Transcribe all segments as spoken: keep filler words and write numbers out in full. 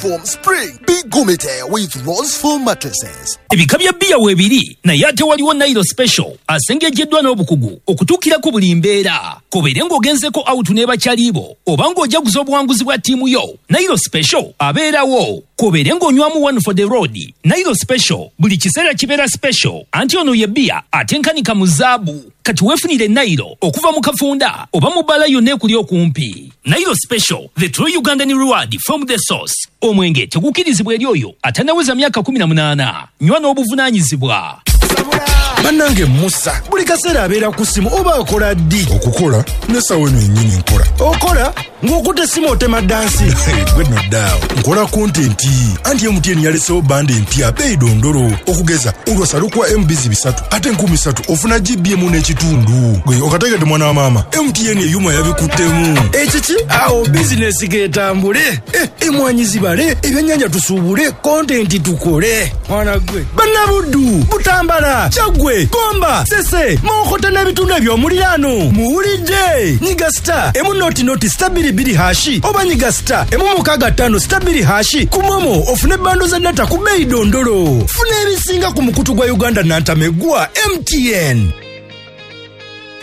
Foam Spring. Be Gumite with Rose Foam mattresses. Ebika bya bbiya weebiri, naye ate waliwo Nairo Special asengejjeddwa n'obukugu okutuukira ku buli mbeera. Kobeere ng'ogenzeko out ne bakyalibo oba ng'ojaguza obuwanguzi bwa ttiimu yo, Nairo Special abeerawo. Kobeere ng'onywamu one for the road, Nairo Special buli kiseera kibeera special, anti ono ye bbiya atenkanika mu zaabu. Kati weefunire Nairo okuva mu kafunda oba mu bbala yonna ekuli okumpi. Nairo Special, the true Ugandan reward from the source. Omwenge tegukkirizibwa eri oyo atannaweza myaka kumi na munaana. Nywa n'obuvunaanyizibwa. Bannange, Musa buli kaseera abeera ku ssimu, oba akola ddi? Okukola nesawa eno yennyini nkola. Okola ng'okutta essimu, otema dance? Gwe noddaawo, nkola content, anti M T N yalesewo bundle empya beeyi dondolo. Okugeza olwasa lukuwa M Bs bisatu, ate enkumi ssatu ofuna G B emu n'ekitundu. Gwe okategedde, mwana wa maama, M T N eyuma yabikuttemu. Ekiki awo, bizinesi getambule, Eh, emwanyi zibale, ebyennyanja tusuubule, content tukole. Mwana gwe, bannabuddu, Butambala, Kyaggwe, Gomba, Sese, Mawokota n'ebitundu eby'omuliraano, muwulidde. Nyiga star emu noti noti star bbiri bbiri hash oba nyiga star emu mukaaga ttaano star bbiri hash ku MoMo ofune bundle za data ku bbeeyi dondolo. Funa ebisinga ku mukutu gwa Uganda nantamegwa M T N.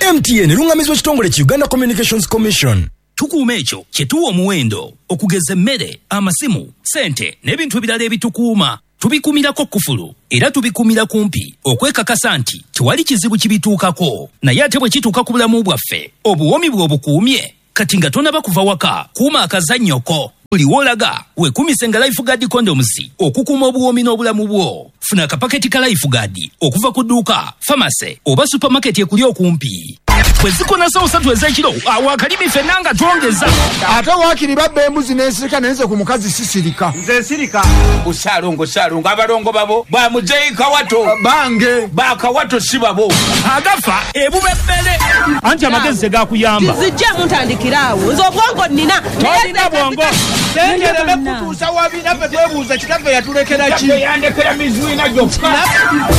M T N erungamizibwa ekitongole ki Uganda Communications Commission. Tukuuma ekyo kye tuwa omuwendo, okugeza emmere, amasimu, sente n'ebintu ebirala ebitukuuma. Tubikuumirako kufulu era tubikuumira kumpi okwekakasa nti tewali kizibu kibituukako. Naye ate bwe kituuka ku bulamu bwaffe, obuwoomi bwe obukuumye. Kati nga tonaba kuva waka, kuuma akazannyoko. Buli w'olaga weekuumise nga Life Guard condoms okukuuma obuwoomi n'obulamu bwo. Funa akapaketi ka Life Guard okuva ku dduuka, pharmacy oba supermarket ekuli okumpi. Bwe zikona sawa ssatu ez'ekiro, awo akalimi ffenna nga twongeza. Ate waakiri babba embuzi n'ensirika, naye nze ku mukazi sisirika. Nze nsirika. Busaalongo, saalongo, abalongo babo bamuzeyi Kawato. Bange. Bakawato si babo. Agafa ebubebbere, anti amagezi tegakuyamba. Zijjemu, ntandikiraawo, nze obwongo nnina. Tolina bwongo. Sengereme kutuusa wabi, naffe twebuuza kitaffe yatulekera ki? Yandekera mizwina gyokka.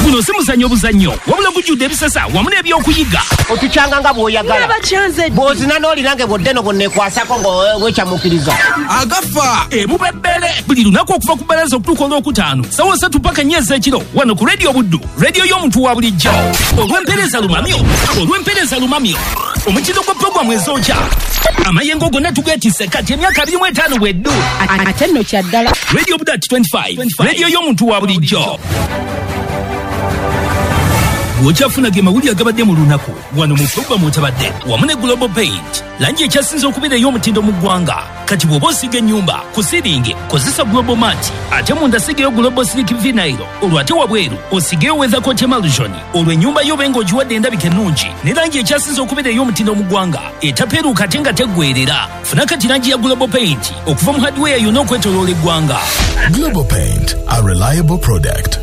Guno si muzannyo buzannyo, wabula gujjudde ebisesa wamu n'ebyokuyiga. Otukyanga nga bw'oyagala. Bakyanze. Bw'ozina n'olinange bw'oddeno bwonneekwasako ng'wekyamukiriza. Agafa ebubebbere buli lunaku okuva ku bbalaza okutuuka olwokutaano sawa ssatu paka nnya ez'ekiro, wano ku Rediyo Buddu, rediyo y'omuntu wa bulijjo. Olw'empeereza lumamyo, olw'empeereza lumamyo, omutindo gwa puroguramu ezookya amayengo gonna tugeetisse kati emyaka abiri mu etaano bweddu. Ate nno kyaddala. Radio Buddu at twenty-five, rediyo y'omuntu wa bulijjo. Bw'okyafuna ge mawulire agabadde mu lunaku wano mu puroguramu otabadde wamu ne Global Paint, langi ekyasinze okubeera ey'omutindo mu ggwanga. Kati bw'oba osiiga ennyumba, ku ceiling kozesa Global Mat, ate munda sigeyo Global Silk Vinyl, olwo ate wabweru osigeyo Weathercoat Emulsion, olwo ennyumba yo obe ng'ogiwadde endabika ennungi ne langi ekyasinze okubeera ey'omutindo mu ggwanga, etapeeruuka ate nga teggweerera. Funa kati langi ya Global Paint okuva mu hardware yonna okwetoloola eggwanga. Global Paint, a reliable product.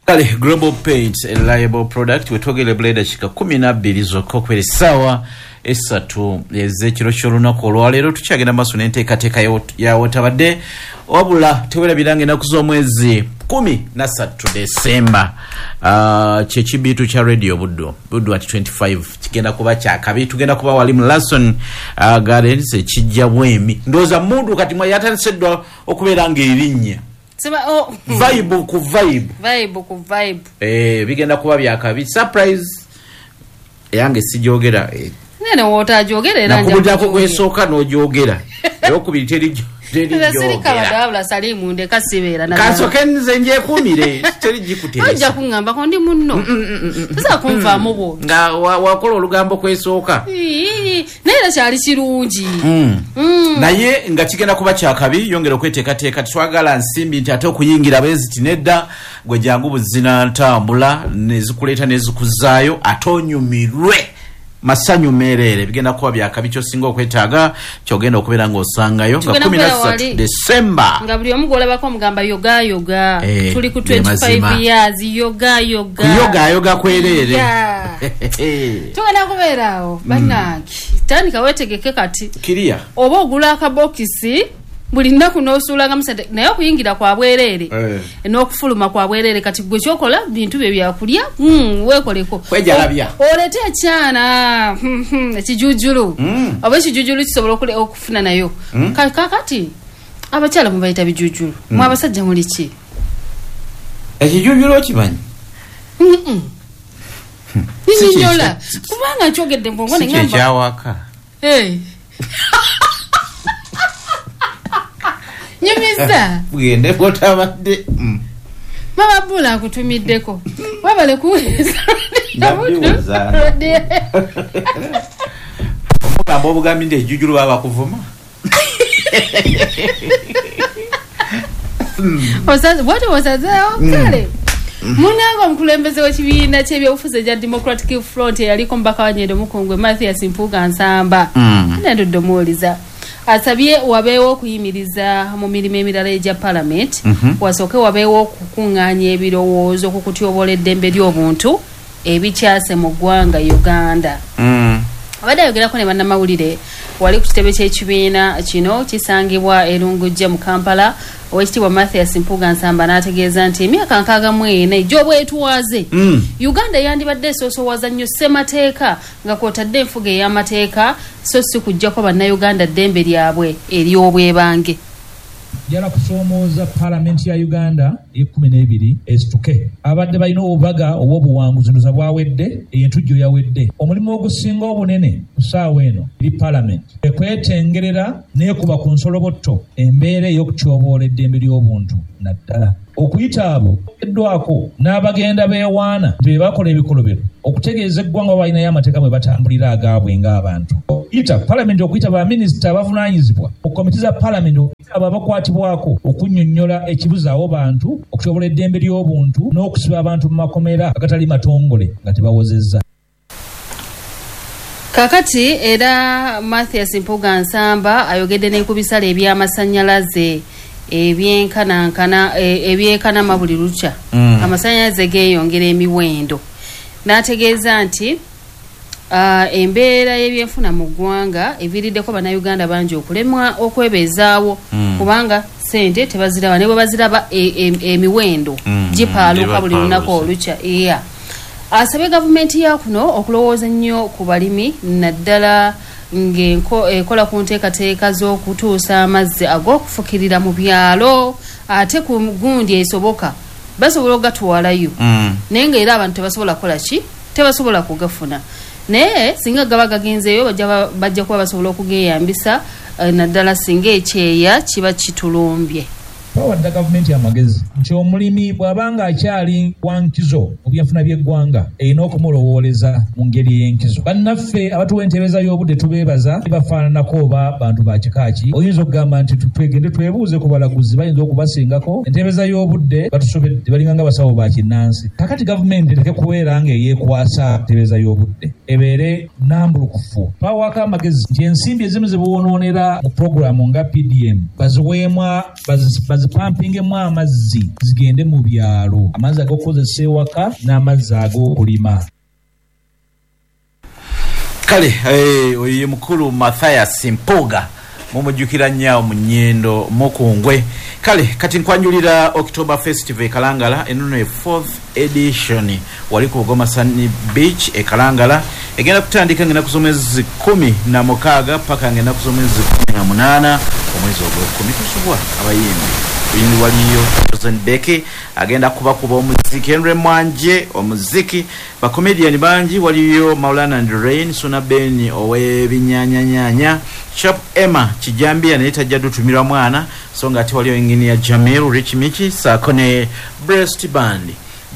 Kale, Global Paint, a reliable product. Wetwogere bula eddakiika kumi nabbiri zokka okubeera essaawa esatu ez'ekiro ky'olunaku olwaleero. Tukyagenda maaso n'enteekateeka ya wotabadde, wabula tewerabiranga ennaku z'omwezi kumi na ssatu Desemba, uh, kyekibiitu kya Radio Buddu, Buddu at twenty-five, kigenda kuba kyakabi. Tugenda kuba wali mu Lason uh, Gardens ekijja bwemi. Ndowooza mundu kati mwe yatandise dda okubeera ng'erinnya. Sema, oh. Vibe ku vibe. Vibe ku vibe. Eh, bigenda kuba byakabi. Surprise eyange sijogera, eh. Nene wotajogera era nja. Nakubujako kwesooka n'ojogera, eyokubiri teri teri. Nze sirika wadde, Salimu, ndeka sibeera na. Kasooke nze njekumire, teri gikuteesa. Ojja kuŋŋambako ndi munno. Tosobola kunvaamu bw'otyo. Nga wakola olugambo kwesooka. Ii, naye era kyali kirungi. Mm. Mm. Naye nga kigenda kuba kyakabi, yongera okweteekateeka. Tetwagala nsimbi nti ate okuyingira bweziti, nedda. Gwe jangu buzina ntambula nezikuleeta nezikuzaayo, ate onyumirwe masanyu meereere. Bigenda kuba byakabi. Kyosinga okwetaaga kyogenda okubeera ng'osangayo nga Tugenda kumi na kubeera ssatu wali. Desemba. Nga buli omu gw'olabako omugamba yoga yoga. Eh, tuli ku ge mazima. twenty-five years yoga yoga. Kuyogayoga kwereere. Yeah. Tugenda kubeera awo, bannange. Tandika weetegeke kati. Kiriya. Oba ogula akabokisi buli nnaku n'osuulangamu sente, naye okuyingira kwa bwereere Eh. n'okufuluma kwa bwereere. Kati gwe kyokola bintu bye byakulya, mm, weekoleko. Kwejalabya. O- oleete ekyana, hmm, hmm, ekijujulu, Mm. oba ekijujulu kisobola okule- okufuna nayo. Mm. Ka- kakati Abakyala mubayita bijujulu. Mm. Mwe abasajja muli ki? Ekijujulu okimanyi? Mm. Ninyola. Kubanga nkyogedde mbongo ne ngamba. Si kyawaka. Hey. Nyumiza. Bugende bwotabadde. Mm. Mama Bula akutumiddeko. Wabale kuweza. Nabiwuza. Omugamba obugambi nti ejjujulu baba kuvuma. Osaze bw'otyo osazeewo kale. Munange omukulembeze w'ekibiina ky'ebyobufuzi ekya Democratic Front eyaliko omubaka wa Nyendo Mukungwe Mathias Mpuuga Nsamba. Nandudde omuwuliza. Asabye wabeewo okuyimiriza mu mirimu emirala egya Parliament, wasooke wabeewo okukuŋŋaanya ebirowoozo ku kutyoboola eddembe ly'obuntu ebikyase mu ggwanga Uganda. Abadde ayogerako ne bannamawulire wali ku kitebe ky'ekibiina kino kisangibwa e Lungujja mu Kampala. Oweekitiibwa Mathias Mpuuga Nsamba n'ategeeza nti emyaka nkaaga mu ena egy'obwetwaze Uganda yandibadde esoosowaza nnyo ssemateeka nga kw'otadde enfuga ey'amateeka so si kuggyako bannayuganda ddembe lyabwe ery'obwebange. Njala kusoomooza Paalamenti ya Uganda ekkumi n'ebiri esituke. Abadde balina obubaga obw'obuwanguzi ndoza bwawedde, entujjo yawedde. Omulimu ogusinga obunene ku ssaawa eno eri Paalamenti ekwetengerera n'ekuba ku nsolobotto embeera ey'okutyoboola eddembe ly'obuntu naddala okuyita abo eddwako n'abagenda beewaana nti be bakola ebikolobero okutegeeza eggwanga balinayo amateeka mwe batambulira agaabwe ng'abantu. Okuyita Paalamenti okuyita baminisita abavunaanyizibwa mu komiti za Paalamenti abo abakwatibwako okunnyonnyola ekibuzaawo bantu okutyobola eddembe ly'obuntu n'okusiba abantu mu makomera agatali matongole nga tebawozezza. Kakati era Mathias Mpuuga Nsamba ayogedde ne ku bisale eby'amasannyalaze ebyenkanankana ebyekanama buli lukya. Mm. Amasannyalaze geeyongera emiwendo. N'ategeeza nti uh, embeera y'ebyenfuna mu ggwanga eviiriddeko bannayuganda bangi okulemwa okwebeezaawo mm. kubanga ssente tebaziraba ne bwe baziraba emiwendo e, e, gipaaluka buli lunaku olukya. Yeah. Asabye gavumenti ya kuno okulowooza ennyo ku balimi naddala ng'ekola ku nteekateeka z'okutuusa amazzi ag'okufukirira mu byalo ate ku gundi esoboka basobola okugatwalayo mm. naye ng'era abantu tebasobola kukola ki, tebasobola kugafuna, naye singa gaba gagenzeeyo bajja kuba basobola okugeeyambisa naddala singa ekyeya kiba kitulumbye. Twawadde gavumenti amagezi nti omulimi bw'abanga akyali wa nkizo mu byenfuna by'eggwanga erina okumulowooleza mu ngeri ey'enkizo. Bannaffe abatuwa entereeza y'obudde tubeebaza, bafaananako oba bantu ba kika ki. Oyinza okugamba nti twegende twebuuze ku balaguzi bayinza okubasingako entereeza y'obudde batusobedde, balinga nga basawo ba kinnansi. Kakati gavumenti ereke kubeera ng'eyeekwasa entereeza y'obudde, ebeere nnambulukufu. Twawaako amagezi nti ensimbi ezimu ze boonoonera mu puroguramu nga P D M baziweemu bazi pampingemu amazzi zigende mu byalo, amazzi ag'okukozesa ewaka n'amazzi ag'okulima. Kale oyo ye mukulu Mathias Mpuuga, mumujjukira nnyo mu Nyendo Mukungwe. Kale kati nkwanjulira October Festival e Kalangala, eno ye fourth edition wali ku Bugoma Sunny Beach e Kalangala. Egenda kutandika ng'ennaku z'omwezi kumi na mukaaga paka ng'ennaku z'omwezi kumi na munaana omwezi ogw'ekkumi. Tusubwa abayimbi oyindi waliyo Chosen Becky agenda kubakuba omuziki, Henry Mwanje omuziki, bakomedian bangi waliyo Maulana and Rain, Suna Ben ow'ebinnyanyanyanya, Chap Emma Kijambia naye tajja dutumirwa mwana, so nga ate waliyo engineer Jamil Rich Michi saako ne Breast Band.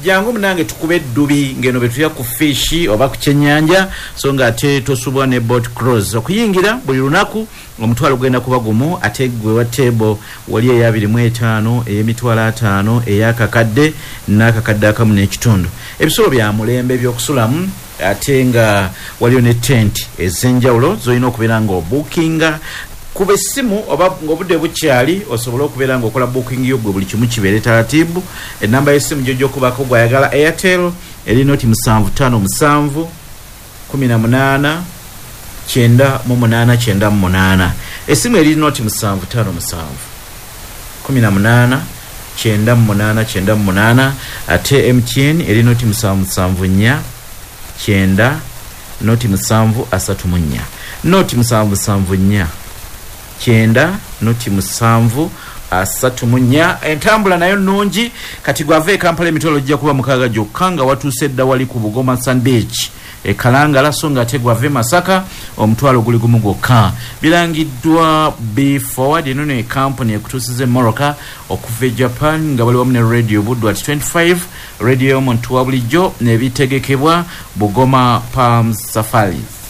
Jangu munange tukube eddubi ngeno betuya ku fishi oba ku kyennyanja, so nga ate tosubwa ne boat cruise. Okuyingira buli lunaku omutwalo gugenda kuba gumu, ate gwe wa table wali eya abiri mu etaano, ey'emitwalo ataano, ey'akakadde n'akakadde akamu n'ekitundu. Ebisulo bya mulembe ebyokusulamu, ate nga waliyo ne tent ez'enjawulo z'olina okubeera ng'obuukinga. Kuba essimu oba ng'obudde bukyali osobola okubeera ng'okola booking yo gwe buli kimu kibeere taratibu. Ennamba y'essimu gy'ojja okubako gw'ayagala Airtel eri noti musanvu ttaano musanvu kumi na munaana kyenda mu munaana kyenda mu munaana. Essimu eri noti musanvu ttaano musanvu kumi na munaana kyenda mu munaana kyenda mu munaana. Ate M T N eri noti musanvu musanvu nnya kyenda noti musanvu asatu mu nnya noti musanvu musanvu nnya kyenda noti musanvu asatu mu nnya. Entambula nayo nnungi. Kati gwava e Kampala emitwalo gijja kuba mukaaga gyokka nga watuuse dda wali ku Bugoma Sun Beach e Kalangala, so nga ate gwava e Masaka omutwalo guli gumu gwokka. Birangiddwa Be Forward, eno ne kampuni ekutuusiza emmotoka okuva e Japan nga bali wamu ne Radio Buddu at twenty-five, radio y'omuntu wa bulijjo, n'ebitegekebwa Bugoma Palms Safaris.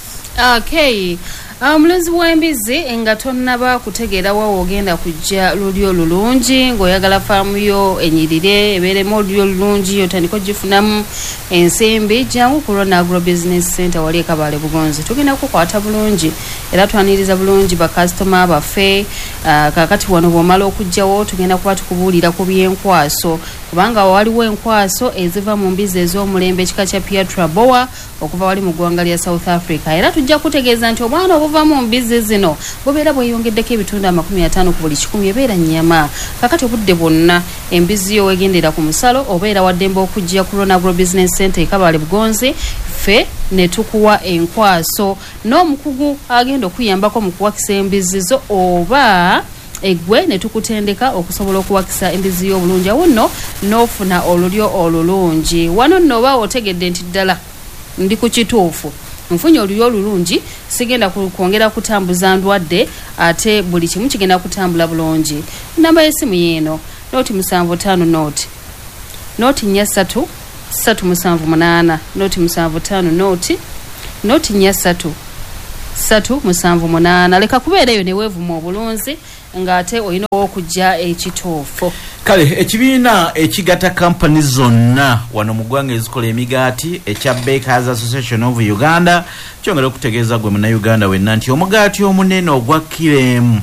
Okay. Omulunzi w'embizzi nga tonnaba kutegeera wa ogenda kujja lulyo lulungi, ng'oyagala faamu yo enyirire ebeeremu olulyo olulungi otandike ogifunamu ensimbi, jangu ku Rona Agro Business Center wali e Kabale Bugonzi. Tugenda kukwata bulungi era twaniriza bulungi bakasitoma baffe. Uh, kaakati wano bw'omala okujjawo tugenda kuba tukubuulira ku by'enkwaso, kubanga waliwo enkwaso eziva mu mbizzi ez'omulembe ekika kya Piatra Boa okuva wali mu ggwanga lya South Africa. Era tujja kutegeeza nti obwana obuva mu mbizzi zino bubeera bweyongeddeko ebitundu amakumi ataano ku buli kikumi, ebeera nnyama. Kakati obudde bwonna embizzi yo wegendera ku musalo obeera waddembe okujja ku Rona Agro Business Center e Kabale Bugonzi, ffe ne tukuwa enkwaso n'omukugu agenda okuyambako mu kuwakisa embizzi zo, oba eggwe ne tukutendeka okusobola okuwakisa embizzi y'obulungi, awo nno n'ofuna olulyo olulungi. Wano nno oba otegedde nti ddala ndi ku kituufu, nfunye olulyo olulungi, sigenda kwongera kutambuza ndwadde, ate buli kimu kigenda kutambula bulungi. Namba y'essimu yeeno noti musanvu ttaano noti noti nnya ssatu ssatu musanvu munaana, noti musanvu ttaano noti noti nnya ssatu ssatu musanvu munaana. Leka kubeera eyo ne weevuma obulunzi ng'ate olina okujja ekituufu. Kale ekibiina ekigatta kampani zonna wano mu ggwanga ezikola emigaati ekya Bakers Association of Uganda kyongera okutegeeza gwe munnayuganda wenna nti omugaati omunene ogwa kilo emu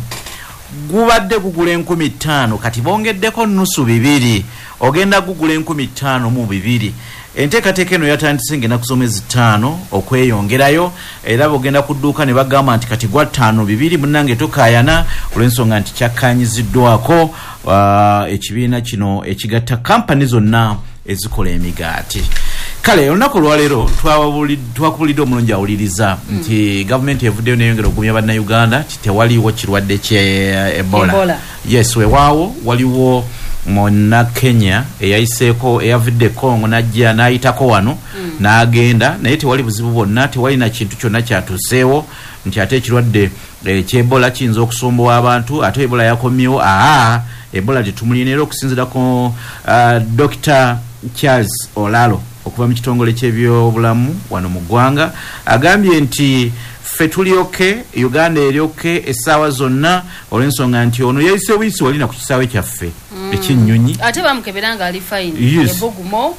gubadde gugula enkumi ttaano, kati bongeddeko nusu bibiri, ogenda gugula enkumi ttaano mu bibiri. Enteekateeka eno yatandise ng'ennaku z'omwezi ttaano okweyongerayo, era bw'ogenda ku dduuka ne bagamba nti kati gwa ttaano bibiri, munnange tokaayana olw'ensonga nti kyakkaanyiziddwako uh, ekibiina kino ekigatta kampani zonna ezikola emigaati. Kale olunaku olwaleero twakubulidde omulungi awuliriza mm. nti gavumenti evuddeyo neyongera okugumya bannayuganda nti tewaliwo kirwadde kye Ebola. Ebola. Yes, weewaawo waliwo munna Kenya eyayiseeko eyavudde Congo n'ajja n'ayitako wano mm. n'agenda, naye tewali buzibu bwonna, tewali na kintu kyonna kyatuuseewo nti ate ekirwadde ky'Ebola kiyinza okusumbuwa abantu, ate Ebola yakomyewo. Aa, Ebola tetumulina. Era okusinziira ku uh, Doctor Charles Olalo okuva mu kitongole ky'ebyobulamu wano mu ggwanga agambye nti ffe tuli oke, Uganda eri oke essaawa zonna, olw'ensonga nti ono yayise buyisi wali na ku kisaawe kyaffe mm. eky'ennyonyi, ate bamukebera nga ali fine, ebogumo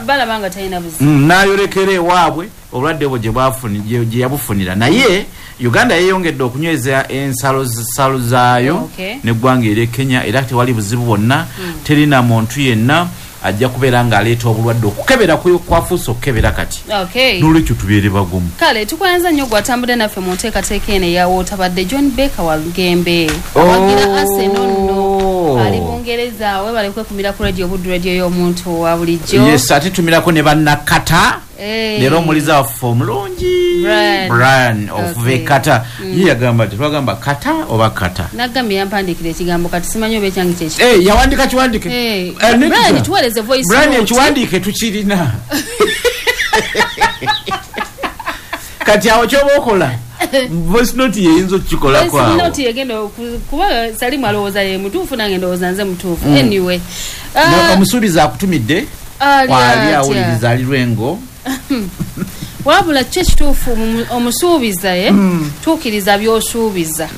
balaba nga talina buzibu, mm, n'ayolekera ewaabwe obulwadde bwo gye yabufunira. Naye Uganda yeeyongedde okunyweza ensalo nsalo zaayo okay. n'eggwanga ery'e Kenya, era tewali buzibu bwonna mm. terina muntu yenna ajja kubeera ng'aleeta obulwadde. Okukebera kwafuuse okukebera kati, okay. n'olwekyo tubeere bagumu. Kale tukwanza nnyo gwatambudde naffe mu nteekateeka eno eyawootabadde John Baker Walugembe awagira Arsenal nno ali Bungereza. Webale kwekumira ku radio Buddu, radio y'omuntu wa bulijjo. Yes, ate tumirako ne bannakata leero omuliza waffe omulungi Brian okuva e Kata. Ye yagamba nti twagamba Kata oba Kata, nagambye yampandiikira ekigambo kati simanyi oba ekyange kyeki. Eh, yawandika kiwandike. Brian tuweereze voice Brian note. Ekiwandiike tukirina. Kati awo ky'oba okola voice note yeyinza okukikolako awo. Voice note yegenda kuba Salimu alowooza ye mutuufu, nange ndowooza nze mutuufu. Anyway, omusuubizi akutumidde kwali awuliriza ali Lwengo. Wabula kyo ekituufu omusuubiza ye tuukiriza by'osuubiza.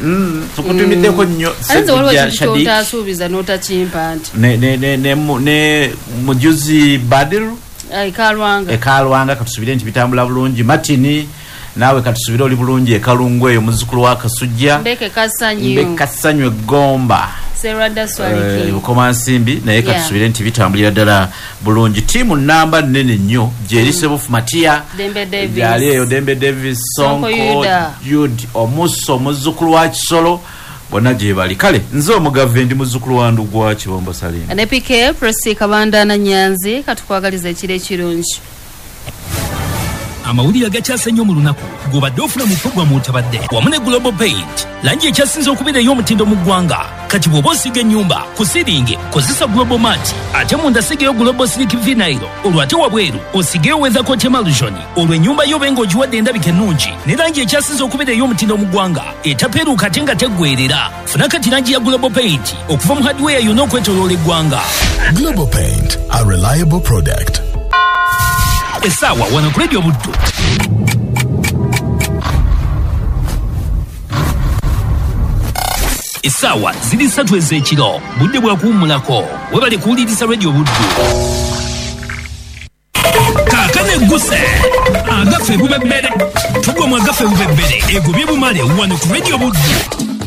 Tukutumiddeko nnyo. Ate nze waliwo ekintu ky'otaasuubiza n'otakimpa nti ne mujuzi Badiru e Kalwanga, e Kalwanga katusubire nti bitambula bulungi. Martini naawe katusubire oli bulungi e Kalungu eyo, muzzukulu wa Kasujja Mbeke Kasanyu, Mbeke Kasanyu Egomba Serada Swaliki Bukomansimbi, naye katusubire nti bitambulira ddala bulungi. Ttiimu namba nnene nnyo gyeri Sebufu Matia, Dembe Davis gyali eyo, Dembe Davis, Sonko Jude Omuso muzzukulu wa Kisolo, bonna gye bali. Kale nze omugave ndi muzzukulu wa Ndugwa Kibombo Salim ne P K Prosi Kabanda na Nyanzi. Katukwagaliza ekiro ekirungi. Amawulire agakyase ennyo mu lunaku gobadde ofuna mu pulogulaamu otabadde wamu ne Global Paint, langi ekyasinze okubeera ey'omutindo mu ggwanga. Kati bw'oba osiiga ennyumba ku siringi kozesa Global Mat, ate munda sigeyo Global Silk Vinyl, olwo ate wabweru osigeyo Weathercoat Emulsion, olwo ennyumba yo obe ng'ogiwadde endabika ennungi ne langi ekyasinze okubeera ey'omutindo mu ggwanga etapeeruuka ate nga teggweerera. Funa kati langi ya Global Paint okuva mu hardware yonna okwetooloola eggwanga. Global Paint, a reliable product. Essaawa wano ku Radio Buddu. Essaawa ziri ssatu ez'ekiro, budde bwa kuwummulako. Webale kuwuliriza Radio Buddu. Kaakano egguse agaffe bubebbere, tugwa mu agaffe bubebbere egobye bumale wano ku Radio Buddu.